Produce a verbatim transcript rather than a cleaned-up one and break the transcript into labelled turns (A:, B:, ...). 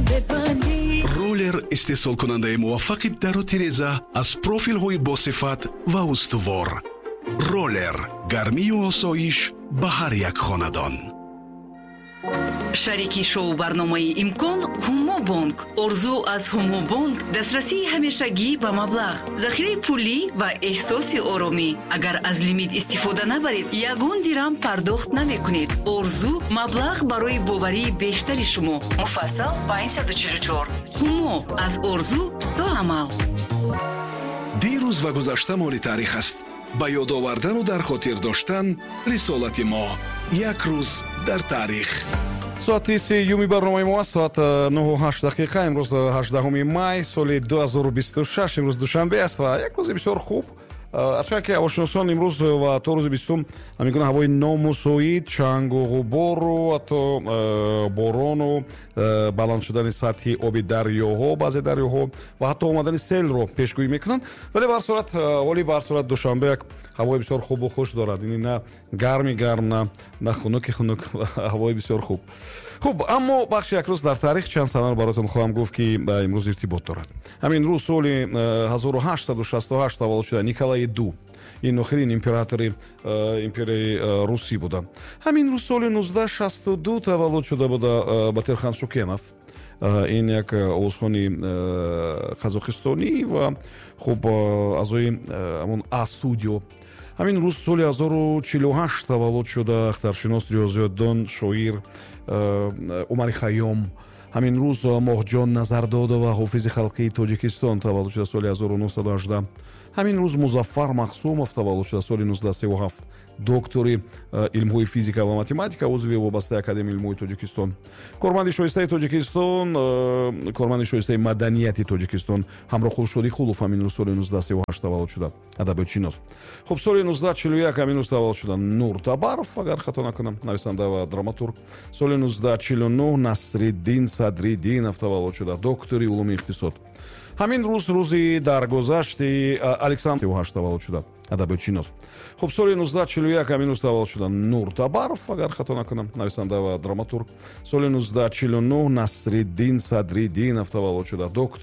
A: Бибандӣ.
B: Роллер, истеҳсолкунандаи муваффақи дару тиреза аз профилҳои босифат ва устувор. Роллер, гармию осоиш ба ҳар як хонадон.
C: Шарики шоу барномаи «Имкон» Ҳумо Бонк. Орзу аз Ҳумо Бонк: дастрасии ҳамешагӣ ба маблағ, захираи пулӣ ва эҳсоси оромӣ. Агар аз лимит истифода набаред, ягон дирам пардохт намекунед. Орзу: маблағ барои боварии бештари шумо. Муфассал панҷсаду чилу чор. Ҳумо: аз орзу то амал.
B: Дирӯз ва гузашта моли таърих аст. Ба ёд овардану дар хотир доштан рисолати мо. Як рӯз дар таърих.
D: Соати сеюми барномаи мо аст, соат э, нӯҳу ҳашт дақиқа. Имрӯз э, ҳаждаҳуми май соли ду ҳазору бисту шаш, имрӯз душанбе аст ва як рӯзи бисёр хуб. Э, ҳарчанд ки ҳавошиносон имрӯз ва то рӯзи бистум ҳамин гуна ҳавои номусоид, чангу ғубору ҳатто борону баланд шудани сатҳи оби дарёҳо, баъзе дарёҳо ва ҳатто омадани селро пешгӯӣ мекунанд, вале ба ҳар сурат, ҳоли ба ҳар сурат душанбе як ҳавои бисёр хубу хуш дорад. Ини на гарми гарм, на на хунуки хунук, ҳавои бисёр хуб. Хуб, аммо бахши «Як рӯз дар таърих» чанд санаро баротон хоҳам гуфт, ки ба имрӯз иртибот дорад. Ҳамин рӯз соли ҳазору ҳаштсаду шасту ҳашт таваллуд шуда Николаи Ду, ин охирин императори э, империяи э, русӣ буданд. Ҳамин рӯз соли нуздаҳ шасту ду таваллуд шуда буда э, Батирхан Шукенов. Ин як овозхони қазоқистонӣ ва хуб, аъзои ҳамон А Студио. Ҳамин рӯз соли ҳазору чилу ҳашт таваллуд шуда ахтаршинос, риёзиётдон, шоир Умари Хайём. Ҳамин рӯз Моҳҷон Назардодова, ҳофизи халқии Тоҷикистон, таваллуд шуда соли ҳазору нӯҳсаду ҳаждаҳ. Ҳамин рӯз Музаффар Махсумов таваллуд шуда соли нуздаҳ сию ҳафт, доктори э, илмҳои физика ва математика, узви вобастаи Академияи илмҳои Тоҷикистон, корманди шоистаи Тоҷикистон, э, корманди шоистаи маданияти Тоҷикистон Ҳамроқул Шодиқулов ҳамин рӯз соли нуздаҳ сию ҳашт таваллуд шуда, адабиётшинос. Хуб, соли нуздаҳ чилу як ҳамин рӯз таваллуд шуда Нур Табаров, агар хато накунам, нависанда ва драматург. Соли нуздаҳ чилу нӯҳ Насриддин Садриддинов таваллуд шуда, доктори улуми иқтисод. Ҳамин рӯз рӯзи даргузашти Александр ҳашт таваллуд шуда, адабиётшинос. Хуб, соли нуздаҳ чилу як ҳамин рӯз таваллуд шуда Нур Табаров, агар хато накунам, нависанда ва драматург. Соли нуздаҳ чилу нӯҳ Насриддин Садриддинов таваллуд шуда, доктор